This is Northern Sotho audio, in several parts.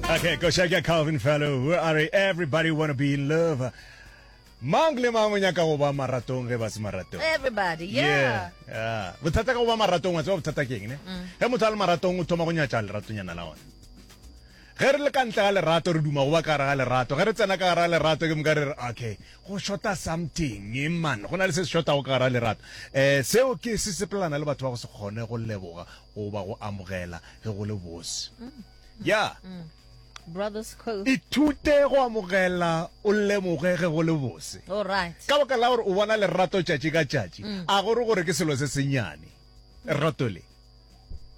Okay, koša ke Calvin Fellow. A re everybody wanna be in love. Mang le mang o nyaka go ba maratong ge ba se maratong. Everybody, yeah. Yeah. yeah. Bothata ka go ba maratong wa tseba bothata ke eng ne? Mm. Ge motho a le maratong o thoma go nyatša leratonyana la ona. Ge re le ka ntle ga lerato re duma go ba ka gare ga lerato. Ge re tsena ka gare ga lerato ke moka re re okay, go shota something man. Go na le se se shotago ka gare ga lerato. Eh seo ke se sepelana le batho ba go se kgone go leboga goba go amogela ge go le bose. Mm. Ya. Brothers Co. Ithute go amogela o lemoge ge go le bose. All right. Ka baka la gore o bona lerato tšatši ka tšatši, mm. a gore gore ke selo se sennyane. Lerato le.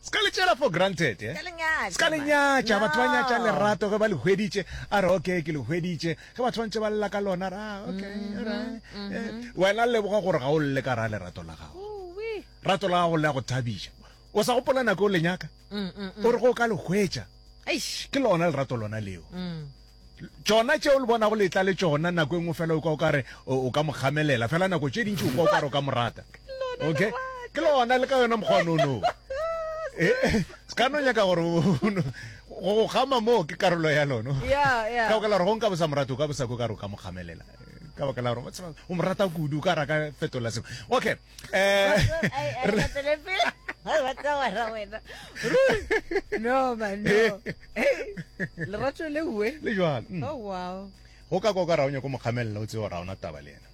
Se ka le tšeela for granted, eh? Se ka le nyatša, batho ba nyatša lerato ge ba le hweditše, a re okay ke le hweditše. Ge batho ba ntše ba lla ka lona, ra ah, okay, mm -hmm, right. Mm -hmm. Wena leboga gore ga o lle ka ra lerato la gago. Rato la gago le a go thabiša. O sa gopola nako o le nyaka? Mm, mm, mm. O re go ka le hwetša. Eish. Ke lona lerato lona leo. Tšona tšeo le bonago le tla le tšona nako e nngwe fela o kwa o ka re o ka mo kgamelela fela nako tše dintši o kwa o ka re o ka mo rata. Okay? Ke lona le ka yona mokgwa no. Eh, eh, se ka no nyaka gore go go kgama moo ke karolo ya lona. Yeah, yeah. Ka baka la gore go nka bo sa mo rate o ka bo sa ko ka re o ka mo kgamelela. Ka baka la gore o mo rata kudu o ka ra ka fetola sengwe. Okay. Eh, no man no lerato le uwe le jwalo mm. oh wow go ka kwa ka ra o nyako mo kgamelela o tsebe gore ga ona taba le yena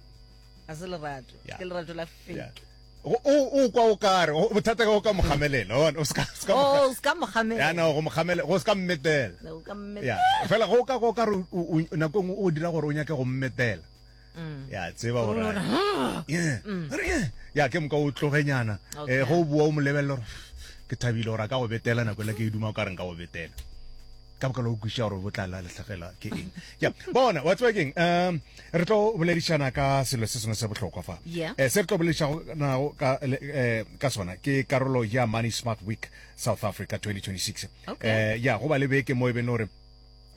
a se lerato ke lerato la fake o kwa o kare bothata ka go ka mo kgamelela o ska ska oh ska mo kgamelela ya no go mo kgamelela go ska mmetela ya fela go ka go ka re nako nngwe o dira gore o nyake go mmetela Mm. ya tseba gore mm. ya ke moka o tlogenyana um eh, go o boa o mo lebelela gore ke thabile gore a ka go betela nako ele ke e duma o ka reng ka go betela ka baka la o kweša gore bo tla la letlhagela ke eng ya bona wa tseba keng um re tlo boledišana ka selo se sengwe se bohlokwa fa um se re tlo boledišanago ka, eh, ka sona ke karolo ya Money Smart Week South Africa 2026 um ya go ba le beke mo e beng gore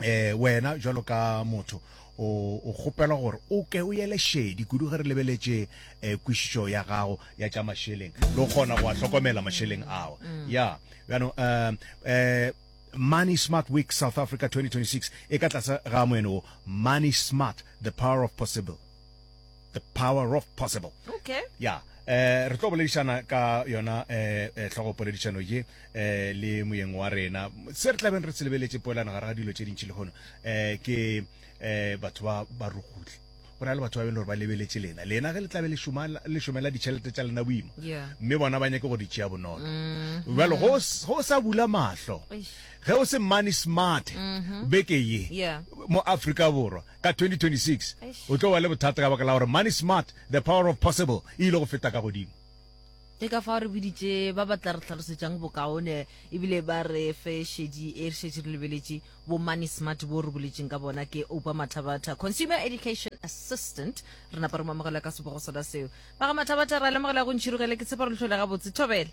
eh wena jwalo ka motho o o kgopelwa gore o ke o yele šedi kudu ge re lebeletše eh, kwešišo ya gago ya tša mašeleng le go kgona go a hlokomela mašeleng ao ya bjano um eh Money Smart Week South Africa 2026 e ka tlase ga moeno wo Money Smart the power of possible The power of possible. Okay. Ya, eh re tlo boledišana ka yona eh, eh hlogo poledišano ye eh le moyeng wa rena. Se re tlabeng re se lebeletše poelano gare ga dilo tše dintši lehono eh ke eh batho ba ba rugutle. Go na le batho ba beng gore ba lebeletše lena. Lena ge le tlabe le šoma le šomela ditšhelete tša lena boima. Yeah. Mme bona ba nyake go di tšea bonolo. Mm. Bjalo go go sa bula mahlo. Eish. Ge o se money smart beke ye Yeah. mo Afrika Borwa Ka 2026, Eish. o tlo ba le bothata ka baka la gore Money Smart, The Power of Possible e ile go feta ka godimo. Ke ka fao re biditše ba ba tla re hlalosetšang bokaone ebile ba re fe šedi e re šetše re lebeletše bo Money Smart bo re boletšeng ka bona ke Oupa Mathabatha, Consumer Education Assistant. Re napa re mo amogela ka sebogo sona seo. Ba ga Mathabatha ra lemogela go ntšhirogele ke tshepa re le hlole gabotse. Thobela.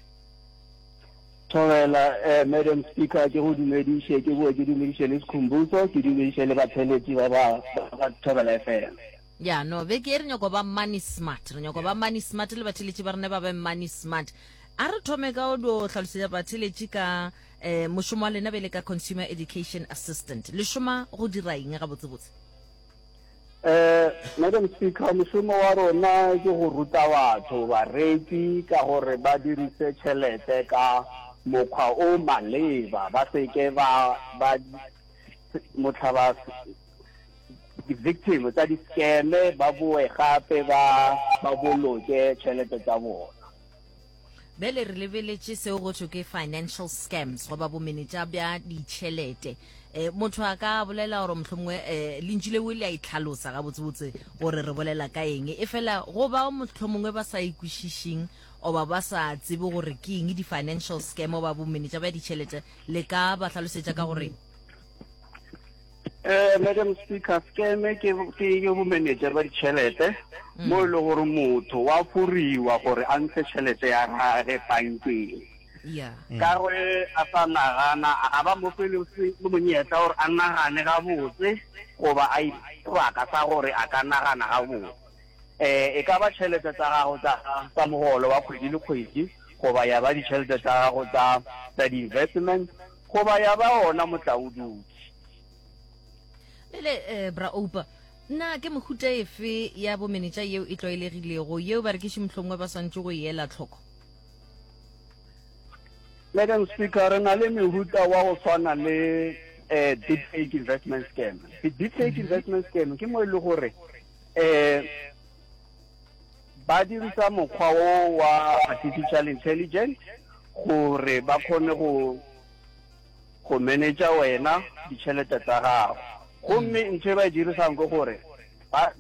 Thobela, eh, Madam Speaker, ke go dumediše, ke boe ke dumediše le Sikhumbuzo, ke dumediše le batheeletši ba ba ba Thobela FM. Ya, no, beke ye re nyako ba money smart. Re nyako ba money smart le batheeletši ba rena ba be money smart. A re thome ka o dio hlalosetša batheeletši ka eh, mošomo wa lena bjale ka Consumer Education Assistant. Le šoma go dira eng gabotsebotse? Eh, Madam Speaker, mošomo wa rona ke go ruta batho, bareki, ka gore ba dirise tšhelete ka mokgwa o maleba, ba se ke ba ba motlha ba di-victim tsa di-scam ba boe gape ba ba boloke tšhelete tsa bona. Bjale re lebeletše seo go thwe ke financial scams goba bomenetša bja ditšhelete. E, motho a ka bolela gore mohlomongwe e, lentšu leo le a itlhalosa gabotsebotse gore re bolela ka eng. E fela go bao mohlomongwe ba sa ikwešišeng oba ba sa tsebe gore ke eng di-financial scam oba bomenetša bja ditšhelete, le ka ba hlalosetša ka gore Eh, Madam Speaker, scam ke ke ke bomenetša ba ditšhelete mm. mo e le gore motho wa foriwa gore a ntshe tšhelete ya gage bankeng. Yeah. Mm. Ka gore a sa nagana a ba mo fe le monyetla gore a nagane gabotse goba a sebaka sa gore a ka nagana gabotse. Eh, e ka ba tšhelete tsa gago tsa tsa mogolo wa kgwedi le kgwedi goba ya ba ditšhelete tsa gago tsa tsa di-investment goba ya ba ona motlaoduki. Pele eh, bra Oupa, na ke mehuta efe ya bomenetša yeo e tlwaelegilego yeo barekiši mohlomongwe ba swanetše go e ela tlhoko? Madam Speaker, re na le mehuta wa go swana le eh, deep fake investment scam. Deep fake investment scam ke mo e le gore eh ba dirisa mokgwa o wa artificial intelligence gore ba kgone go go manager wena ditšhelete tsa gago. Gomme ntho e ba e dirisang ke gore ba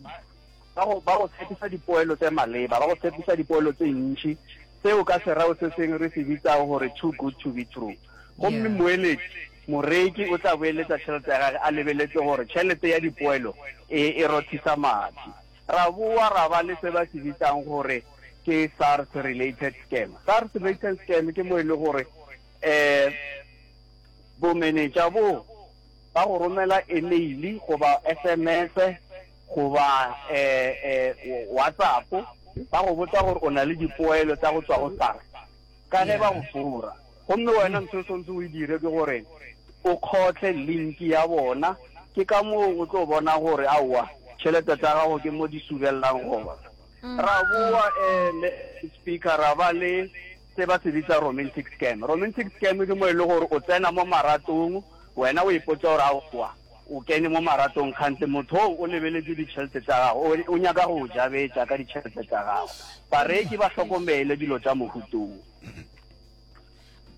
ba go ba go tshepisa dipoelo tse maleba, ba go tshepisa dipoelo tse ntši, seo ka sereo se sengwe re se bitsang gore too good to be true. Gomme moeletši, moreki o tla boeletsa tšhelete ya gage a lebeletse gore tšhelete ya dipoelo e e rothisa madi. Ra boa ra ba le se ba se bitsang gore ke SARS related scam. SARS related scam ke mo e le gore um bomenetša bo ba go romela email goba SMS goba WhatsApp ba go botsa gore o na le dipoelo tsa go tswa go SARS ka ge ba go fora. Gomme wena ntho e swantse o e dire ke gore o kgotle link ya bona, ke ka moo o tlo bona gore aowa tšhelete tsa gago ke mo di subellang gona. Ra boa Speaker ra ba le se ba se bitsa romantic scam. Romantic scam ke mo e le gore o tsena mo maratong, wena o ipotsa gore aowa o kene mo maratong kgante motho oo o lebeletše ditšhelete tša gago, o nyaka go o jabetša ka ditšhelete tša gago. Bareki ba hlokomele dilo tša mohutong.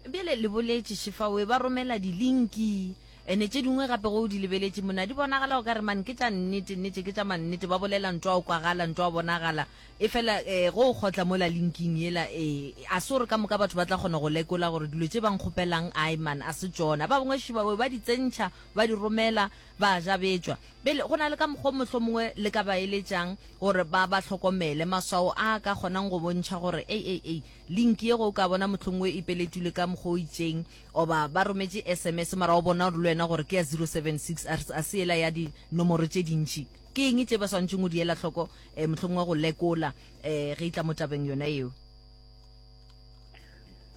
Bjale le boletše Šifawe ba romela dilinki ene tše dingwe gape go o di lebeletše mona di bonagala o ka re man ke tša nnete nnete ke tša mannete ba bolela ntwa o kwagala ntwa o bonagala e fela eh, go o kgotla mola linking yela eh, a se gore ka moka batho ba tla kgona go lekola gore dilo tše ba nkgopelang ai man a se tšona ba bangwe Šifawe ba di tsentšha ba di romela ba jabetšwa Bjale go na le ka mokgwa mohlomongwe le ka ba eletšang gore ba ba hlokomele maswao a ka kgonang go bontšha gore ei ei ei Link ye go o ka bona mohlomongwe e peletilwe ka mokgwa o itšeng oba ba rometše sms mara o bona gore le wena gore ke ya 076 a se yela ya dinomoro tše dintši. Ke eng tše ba swanetšeng go di ela hloko um mohlomongwe go lekola um ge e tla mo tabeng yona yeo?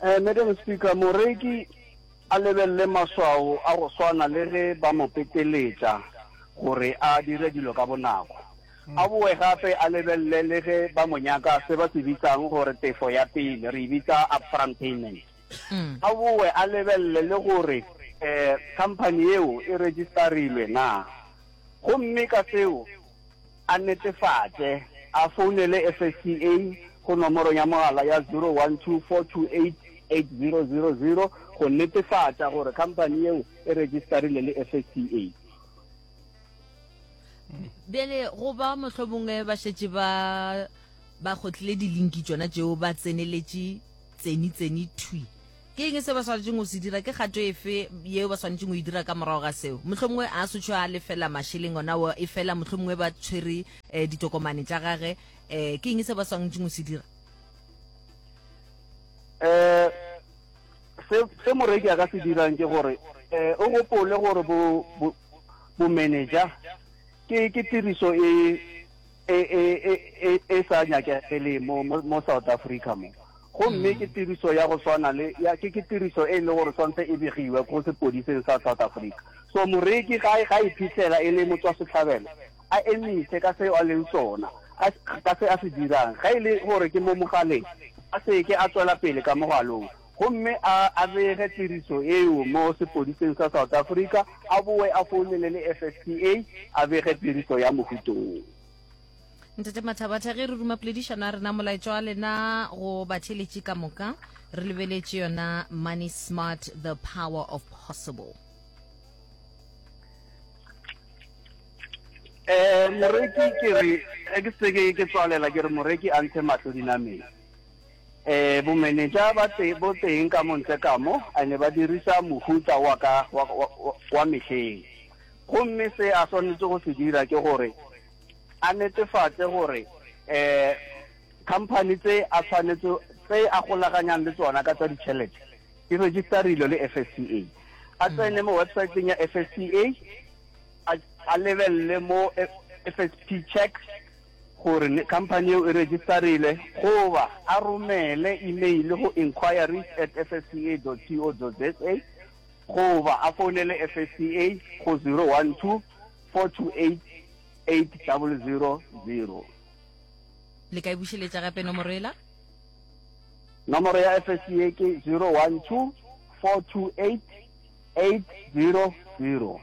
Madam Speaker, moreki a lebelele maswao a go swana le ge ba mo peteletša gore a dire dilo ka bonako. A boe gape a lebelele le ge ba mo nyaka se ba se bitsang gore tefo ya pele, re e bitsa upfront payment. A boe a lebelele le gore um khamphani yeo e rejistarilwe na. Gomme ka seo a netefatše, a founele FSCA go nomorong ya mogala ya 012 428 8000 go netefatša gore khamphani yeo e rejistarile le FSCA. Bjale go ba mohlomongwe ba šetše ba ba kgotlile dilinki tšona tšeo ba tseneletše tseni tseni thwi. Ke eng se ba swanetšeng go se dira? Ke kgato efe yeo ba swanetšeng go e dira ka morago ga seo? Mohlomongwe a sotšho a lefela mašeleng ona o e fela mohlomongwe ba tshwere eh, ditokomane tša gage eh, ke eng se ba swanetšeng go se dira? Eh, se se moreki a ka se dirang ke gore eh, o gopole gore bo, bo Bomenetša ke ke tiriso e e e e e e sa nyakegeleng mo mo mo South Africa mo. Gomme ke tiriso ya go swana le ya ke ke tiriso e le gore swantse e begiwe ko sepodiseng sa South Africa. So moreki ga ga iphitlhela e le motswasetlhabelo a emise ka seo a leng sona, a ka se a se dirang. Ga e le gore ke mo mogaleng, a seke a tswela pele ka mogalong. Gomme a a bege tiriso eo mo sepodiseng sa South Africa, a boe a founele le FSCA a bege tiriso ya mohuto wo. Ntate Mathabatha, ge re ruma poledišano ya rena, molaetša wa lena go batheeletši ka moka, re lebeletše yona Money Smart, The Power of Possible. Eh, moreki ke re, ge ke se ke tswalela ke re moreki a ntshe mahlo dinameng. Eh, bomenetša ba te, bo teng ka mo ntle ka mo, ene ba dirisa mohuta wa ka, wa, wa, wa mehleng. Gomme se a swanetše go se dira ke gore a netefatše gore eh company tse a tshwanetse tse a golaganyang le tsona ka tsa ditšhelete di registerilwe le FSCA. A tsene mo websiteng ya FSCA, a, a lebelele mo FSP check gore khamphani yeo e rejistarile goba a romele email go inquiries at fsca dot co dot za goba a founele FSCA go 012. 428 8000. Le ka e bušeletša gape nomoro ela? Nomoro ya FSCA ke 012 428 8000.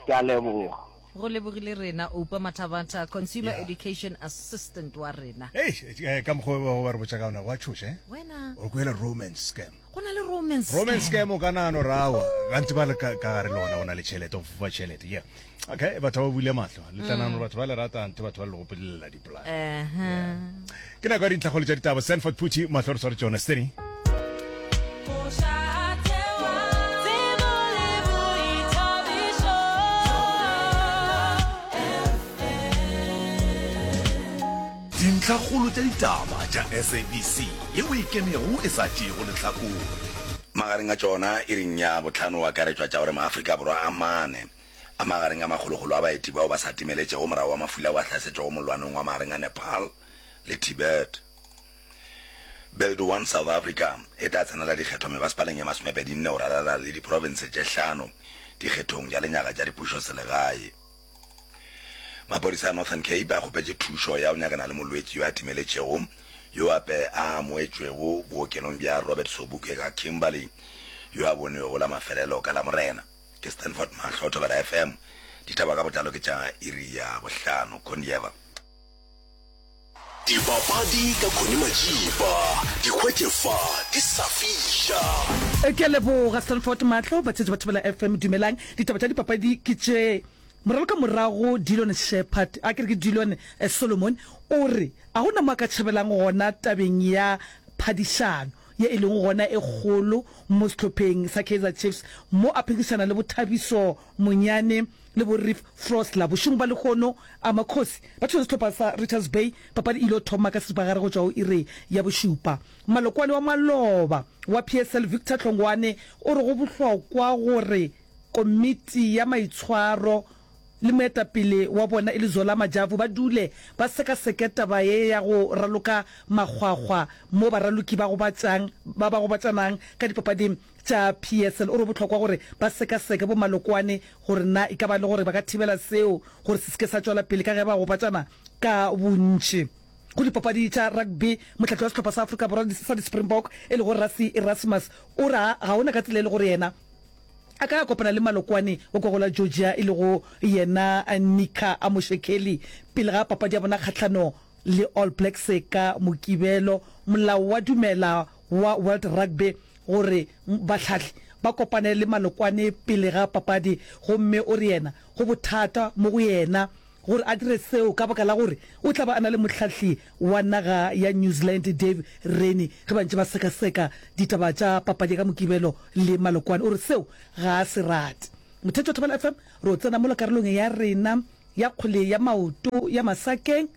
Ke a leboga. Go lebogile rena, Oupa Mathabatha, Consumer yeah. Education Assistant wa rena. Hey, eh, ka mokgwa o ba re botša ka ona wa tšhoša eh? Wena. O kwele romance scam. Go na le romance scam. Romance scam o ka nagano rawa. Gantsi ba le ka gare le ona o na le tšhelete, o fofa tšhelete. Yeah. Okay, batho ba bule mahlo. Le tla nagano mm. batho ba le rata nthe batho ba le gopolelela dipolane. Uh-huh. Ke nako ya dintlhakgolo tša ditaba. Sanford Phuthi, mahlo re sware tšona. Steady. Dintlhakgolo tša ditaba tša SABC yeo e kenego e sa tšeego lehlakore. Magareng a tšona, iring ya bohlano go akaretšwa tša gore maAfrika Borwa a mane a magareng a makgolokgolo a baeti bao ba sa timeletšego morago wa mafula ao a hlasetšego mollwaneng wa magareng a Nepal le Tibet. Build One South Africa e tla tsenela dikgetho mebasepaleng ye masomepedinne go ralala le diprofense tše hlano dikgethong tša lenyaga tša dipušoselegae. Maphodisa a Northern Cape a kgopetše thušo ya go nyakana le molwetši yo a timeletšego yo ape a amoetšwego bookelong bja Robert Sobukwe ka Kimberley yo a bonwego la mafelelo ka Lamorena. Ke Stanford Mahlo, Thobela FM. Ditaba ka botlalo ke tša iri ya bohlano. Kondieva. Dipapadi ka Connie Majiba, di hwetše fa di sa fiša. Ke a leboga Stanford Mahlo, batheetši ba Thobela FM dumelang. Ditaba tša dipapadi ke tše. Moraloka morago Dillon Sheppard, a ke re ke Dillon Solomon, o re a go na mo a ka tšhabelang gona tabeng ya phadišano ye e lego gona e kgolo mo sehlopheng sa Kaizer Chiefs mo a phegišana le bo Thabiso Monyane le bo Reeve Frosler. Bošegong ba lehono, Amakhosi ba thula sehlopha sa Richards Bay. Papadi e ilo thoma ka seripagare go tšwa go iri ya bošupa. Malokwane wa maloba wa PSL Victor Hlongwane o re go bohlokwa gore komiti ya maitshwaro le moetapele wa bona e le Zola Majavu ba dule ba sekaseke taba ye ya go raloka makgwakgwa mo baraloki ba gobatšang ba ba gobatšanang ka dipapading tša PSL. O re go bohlokwa gore ba sekaseke bomalokwane gore na e ka ba le gore ba ka thibela seo gore se se ke sa tšwela pele ka ge ba gobatšana ka bontši. Go dipapadi tša rugby, mohlahli wa sehlopha sa Afrika Borwa sa di-Springbok e lego Rassie Erasmus o re ga go na ka tsela e le gore yena a ka ya kopana le malokwane wa kwa go la Georgia e lego yena Nika Amoshekeli pele ga papadi ya bona kgahlano le All Blacks ka Mokibelo. Molao wa dumela wa World Rugby gore bahlahli ba kopane le malokwane pele ga papadi gomme o re yena go bothata mo go yena gore a dire seo ka baka la gore o tla ba a na le mohlahli wa naga ya New Zealand Dave Rennie ge ba ntše ba sekaseka ditaba tša papadi ya ka Mokibelo le malokwane. O re seo ga a se rate. Mothetši wa Thobela FM, re o tsena mola karolong ya rena ya kgwele ya maoto ya masakeng.